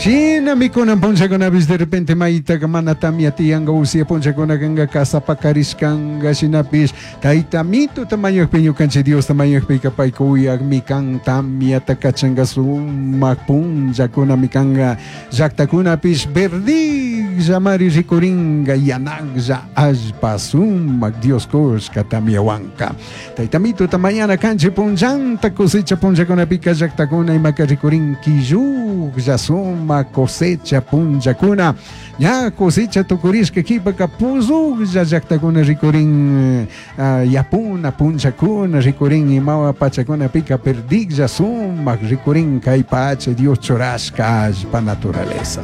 Shinami kunan punllakunapish de repente maytaka mana tamia tiyanka usia punllakuna kanka kasapakarishkanka shinapish tayta mituta mañakpi ñukanchik Diosta mañakpika payka uyakmi kan tamiata kachanka sumak punllakunami kanka llaktakunapish verdigllamari rikurinka yanaklla allpa sumak Dios kushka tamiawanka. Tayta mituta mañana kanchik punllanta cosecha punllakunapika llaktakuna imaka rikurin killuklla sumak cosecha punllakuna ña cosecha tukurishka kipaka puzuklla llaktakuna rikurin yapuna punllakuna rikurin imawa pachakunapika perdiglla sumak rikurin kay pacha Dios churashka allpa naturaleza.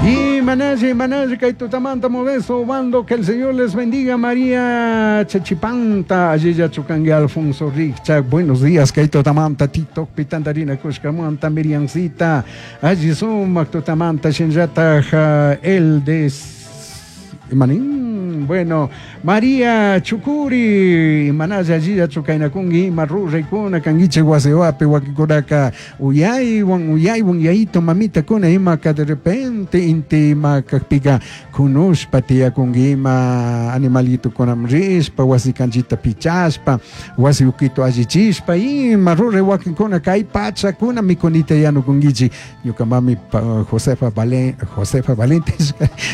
Y Manalle, Manalle, kay tutamanta Modesto Obando, que el Señor les bendiga, María Chachipanta, allí chukangi Alfonso Richak, buenos días, kay tutamanta, Tito Pitandarina Kushkamanta, Miriamcita, allí sumak tutamanta, shinllataj, el de Manín, bueno, María Chucuri, Manaya allí chukainakungi, ima ruraykuna kanguiche wasiwapi wakikunaka uyaywan uyaywan yayito mamita kuna imaka de repente inti ima kakpika kunushpa tiyakungi ima animalito kunam rishpa wasi kanchita pichashpa wasi ukito allichishpa ima ruray wakinkuna kay pachakuna mikunita yanukunkichik ñuka mami Josefa Valente, Josefa Valente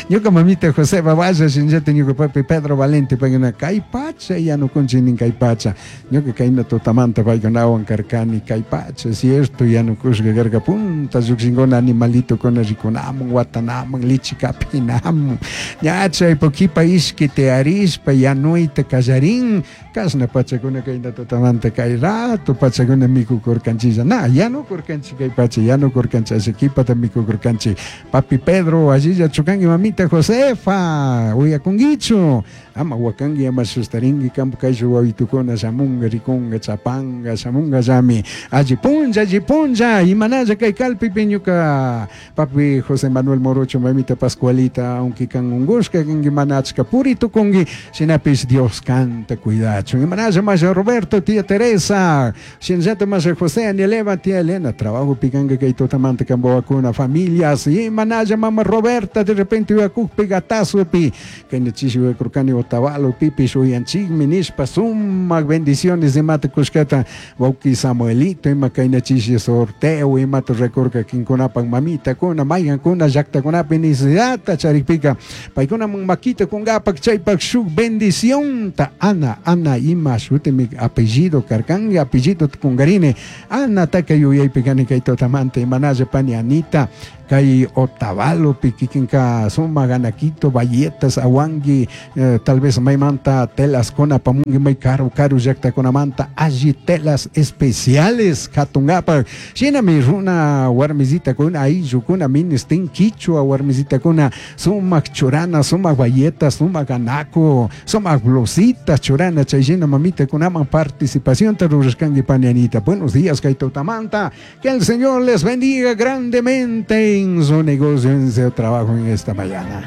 ñuka mamita Josefa Valle shinllata ñuka papi Pedro Valente paykuna kay pacha yanukunchik nin kay pacha ñuka kayna tutamanta paykunawan karkani kay pacha cierto yanukushka karka punta llukshinkuna animalitokuna rikunamun watanamun lichi kapinamun ña chaypa kipa ishki tiyarishpa yanuyta kallarin kashna pachakuna kayna tutamanta kay rato pachakuna mikukurkanchilla na yanukurkanchik kay pacha yanukurkanchik asha kipata mikukurkanchik papi Pedro allilla chukanki mamita Josefa uyakunkichu ama wakanki ama sustarinki kampu kayshuk wawitukuna shamunga rikunga chapanga shamunga llami alli punlla alli punlla imanalla kay kalpipi ñuka papi José Manuel Morocho mamita Pascualita aunque kan ungushka kanki mana achka puri tukunki shinapish Dios kanta cuidachun imanalla masha Roberto tía Teresa shinallata masha José Anieleva tía Elena trabajo pikanka kay tutamanta kan wawakuna familias imanalla mama Roberta de repente uyakukpi gatazopi kayna chishi uyakurkani Otavalo pipish uyanchikmi nishpa sumak bendiciones imata kushkata wawki Samuelito ima kayna chishi sorteo imata rekurka kinkunapak mamitakuna maykankuna llaktakunapi necesidadta charikpika paykunaman makita kunkapak chaypak shuk bendicionta Ana Ana ima shutimi apellido karkanki apellido kunkarini Anataka yuyaypi kani kay tutamanta imanalla pani Anita kay Otavalopi kikinka sumak Anaquito bayetas awanki tal vez maymanta telaskuna apamunki may karu karu llaktakunamanta alli telas especiales katunkapak shinami runa warmisitakuna ayllukuna ministin kichwa warmisitakuna sumak churana sumak bayetas sumak anaco sumak blusita churana chay shina mamitakunaman participacionta rurashkanki pani Anita. Buenos días kay tutamanta, que el Señor les bendiga grandemente en su negocio, en su trabajo en esta mañana.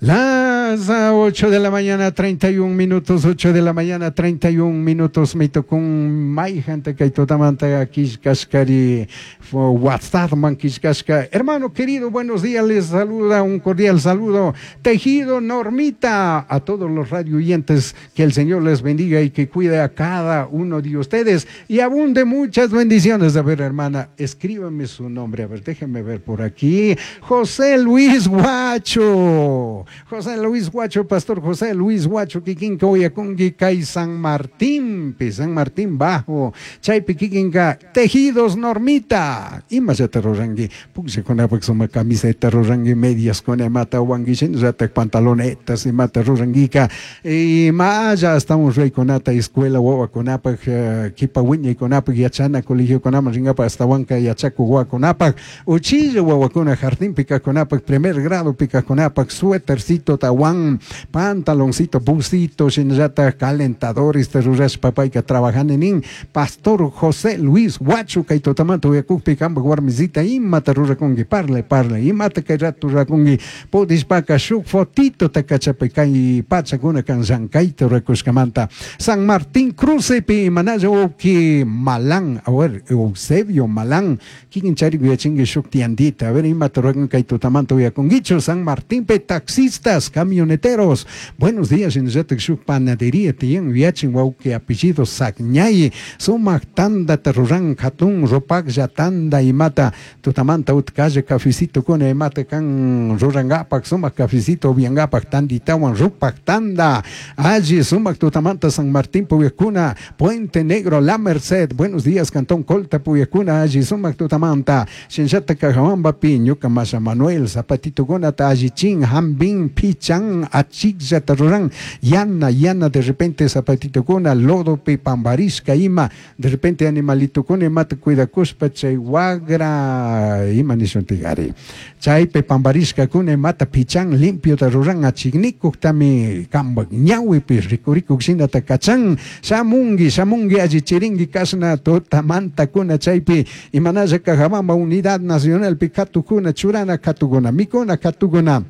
Las 8 de la mañana, 31 minutos, 8 de la mañana, 31 minutos, me tocó un mayjanta que totamanta kishkashkari, WhatsApp man kishkashka. Hermano querido, buenos días, les saluda, un cordial saludo. Tejido Normita, a todos los radio oyentes, que el Señor les bendiga y que cuide a cada uno de ustedes y abunde muchas bendiciones. A ver, hermana, escríbame su nombre, a ver, déjenme ver por aquí. José Luis Guacho. José Luis Guacho, Pastor José Luis Guacho, kikinka uyakunki kay San Martín, pi San Martín Bajo, chaypi kikinka Tejidos Normita, imallata ruranki, pukllakunapak sumak camiseta ruranki, medias kuna imata wanki, shinallatak pantalonetas imata rurankika, imalla hasta un reykunata escuela wawakunapak, kipa wiñaykunapak yachana colegiokunaman rinkapak hasta wanka yachakuk wawakunapak, uchilla wawakuna jardinpi kajkunapak, primer grado pi kajkunapak, suétercito tawanki. apan pantaloncito, busito, shinallata calentadores rurashpa payka trabajani nin. Pastor José Luis Huacho kay tutamanta uyakukpi kampak warmisita imata rurakunki, parle parle, imata kay rato rurakunki, pudishpaka shuk fotito kachapay kay pachakuna kan llankayta rurakushkamanta. San Martín Crucepi manalla uki Malán, a ver, Eusebio Malán, kikin chari uyachinki shuk tiandita, a ver imata rurakun kay tutamanta uyakunkichu. San Martín pe taxistas, camioneteros, buenos días, shinallatak shuk panadería tiyan uyachin wawki apellido Sagñay, sumak tandata ruran hatun rupaklla tanda imata tutamanta utkalla cafecito kuna imata kan rurangapak sumak cafecito upiangapak tanditawan rupak tanda alli sumak tutamanta San Martín Puyacuna, Puente Negro, La Merced, buenos días, Cantón Colta Puyacuna, alli sumak tutamanta Shinllata Cajabambapi, ñuka Masha Manuel, Zapatito Gunata, allichin, Jambín, Pichan, Achikllata ruran, yana, yana, de repente zapatito kuna, lodopi, pambarishka ima, de repente animalito kuna imata cuidakushpa chay wagra, ima nishuntigari. Chaypi pambarishka kuna imata pichan, limpio ta ruran, achiknikuktami kambak ñawipi rikurikuk shinata kachan, shamungi, shamungi, allichiringi kashna tutamanta kuna chaypi, imanalla Cajabamba Unidad Nacional pi katukuna, churana katukuna, mikuna katukuna.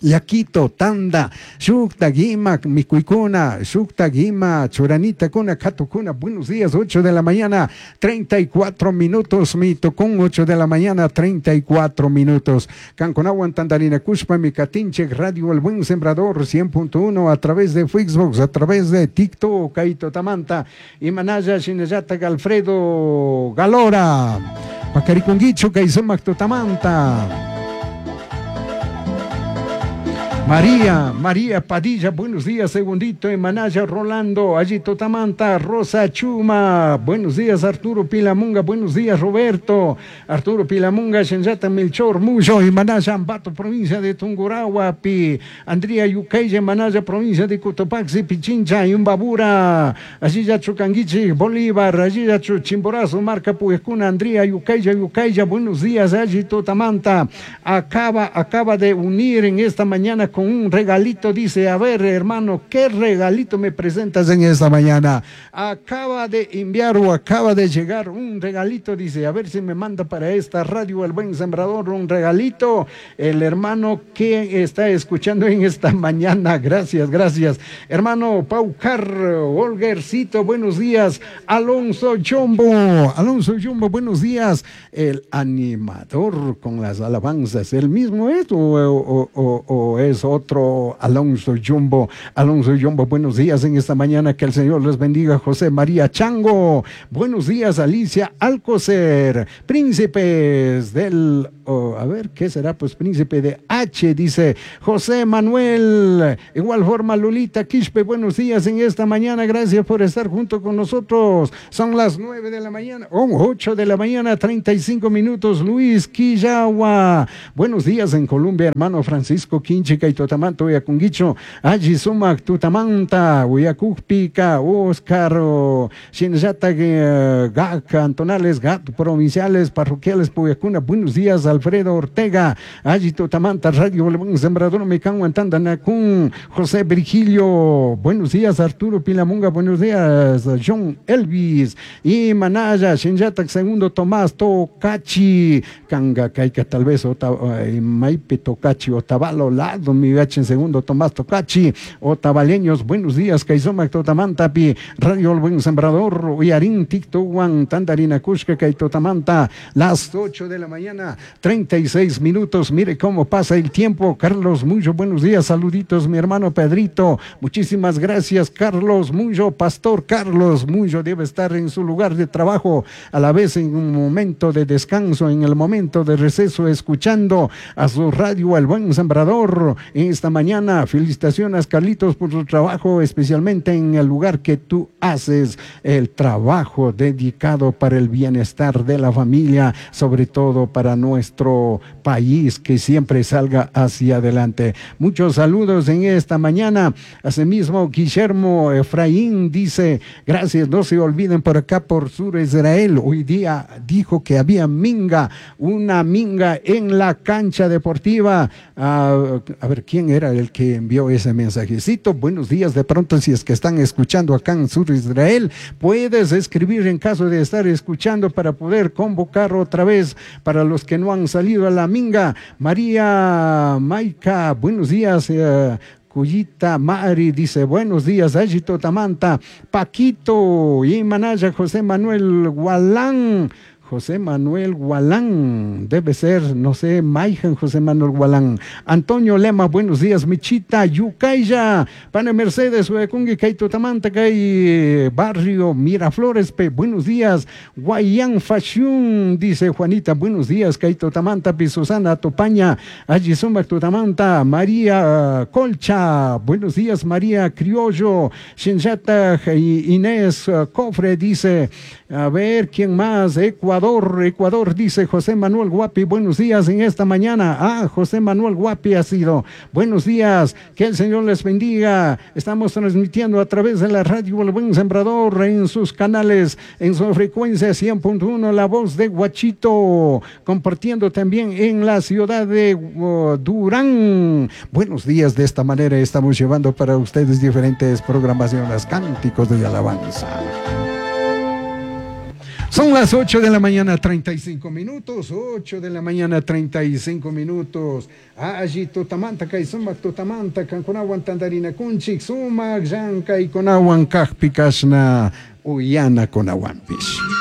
Yaquito, tanda, shukta, gima, mikuikuna, shukta, gima, churanita, kuna, katukuna. Buenos días, 8 de la mañana, 34 minutos, mi tocón, 8 de la mañana, 34 minutos. Canconahuan, Tandarina, Cushpa, mi Catinche, Radio El Buen Sembrador, 100.1, a través de Facebook, a través de TikTok, Kaito Tamanta, y Manaya, Shinayata, Alfredo Galora, Pacariconguicho, Kaizumac, Tamanta. María, María Padilla, buenos días, segundito, Emanaya Rolando, allí Totamanta, Rosa Chuma, buenos días, Arturo Pilamunga, buenos días, Roberto, Arturo Pilamunga, Shenyata Melchor, Muyo, Emanaya Ambato, provincia de Tungurahua, Pi, Andrea Yucaya, Emanaya, provincia de Cotopaxi, Pichincha, Imbabura, allí ya Chucanguichi, Bolívar, allí ya Chimborazo, Marca Puescuna, Andrea Yucaya, Yucaya, buenos días, allí Totamanta, acaba de unir en esta mañana con un regalito, dice, a ver, hermano, ¿qué regalito me presentas en esta mañana? Acaba de enviar o acaba de llegar un regalito, dice, a ver si me manda para esta radio El Buen Sembrador un regalito, el hermano que está escuchando en esta mañana, gracias, gracias. Hermano Paucar, Olgercito, buenos días. Alonso Jumbo, Alonso Jumbo, buenos días. El animador con las alabanzas, ¿el mismo es o es otro Alonso Jumbo? Alonso Jumbo, buenos días en esta mañana, que el Señor les bendiga. José María Chango, buenos días. Alicia Alcocer, príncipes del, oh, a ver, ¿qué será? Pues príncipe de H, dice José Manuel. Igual forma, Lolita Quispe, buenos días en esta mañana, gracias por estar junto con nosotros. Son las 9 de la mañana, oh, 8 de la mañana, 35 minutos. Luis Quillagua, buenos días en Colombia, hermano Francisco Quinchica y Totamanto, Uyacunguicho, Allí Sumac, Tutamanta, Uyacujpica, Oscar, Shinjata, Gac, Cantonales, Gat, provinciales, parroquiales, Puyacuna, buenos días, Alfredo Ortega, Allí Tutamanta, Radio El Sembrador, Mecan, Tandanacún, José Virgilio, buenos días, Arturo Pilamunga, buenos días, John Elvis, y Manaya, Shinjata, segundo Tomás, Tocachi, Canga, Caica, tal vez, Maipe, Tocachi, Otavalo, Lado, mi en segundo Tomás Tocachi, Otavaleños, buenos días, Kaizomac, Totamantapi, Radio El Buen Sembrador, Uyarín, Tictohuan, Tandarina, Cusca, Kaitotamanta, las 8 de la mañana, 36 minutos, mire cómo pasa el tiempo. Carlos Muyo, buenos días, saluditos, mi hermano Pedrito, muchísimas gracias, Carlos Muyo, Pastor Carlos Muyo, debe estar en su lugar de trabajo, a la vez en un momento de descanso, en el momento de receso, escuchando a su radio El Buen Sembrador esta mañana. Felicitaciones, Carlitos, por su trabajo, especialmente en el lugar que tú haces, el trabajo dedicado para el bienestar de la familia, sobre todo para nuestro país, que siempre salga hacia adelante. Muchos saludos en esta mañana. Asimismo, Guillermo Efraín dice, gracias, no se olviden por acá por Sur Israel. Hoy día dijo que había minga, una minga en la cancha deportiva. A ver, ver, ¿quién era el que envió ese mensajecito? Buenos días, de pronto si es que están escuchando acá en Sur Israel, puedes escribir en caso de estar escuchando para poder convocar otra vez para los que no han salido a la minga. María Maica, buenos días. Eh, Cuyita Mari dice, buenos días, Ayito Tamanta, Paquito y Manaya José Manuel Gualán. José Manuel Gualán, debe ser, no sé, Maijan José Manuel Gualán. Antonio Lema, buenos días, Michita, Yucaya, Pane Mercedes, Huecungui, Kaito Tamanta, Kay, Barrio Miraflores, Pe, buenos días, Guayán Fashion, dice Juanita, buenos días, Kaito Tamanta, Pi Susana Topaña, Allí Sumac Tutamanta, María Colcha, buenos días, María Criollo, Shinjata Inés Cofre, dice, a ver, ¿quién más? Ecuador, Ecuador, dice José Manuel Guapi, buenos días en esta mañana. Ah, José Manuel Guapi ha sido. Buenos días, que el Señor les bendiga. Estamos transmitiendo a través de la radio El Buen Sembrador en sus canales, en su frecuencia 100.1, La Voz de Guachito, compartiendo también en la ciudad de uh, Durán. Buenos días, de esta manera estamos llevando para ustedes diferentes programaciones, cánticos de alabanza. Son las 8 de la mañana, 35 minutos. 8 de la mañana, 35 minutos. Allí tutamanta, kay sumak tutamanta, kankunawan tandarina kunchik, sumak, llanka y kunawan kajpikashna, uyana kunawanpish.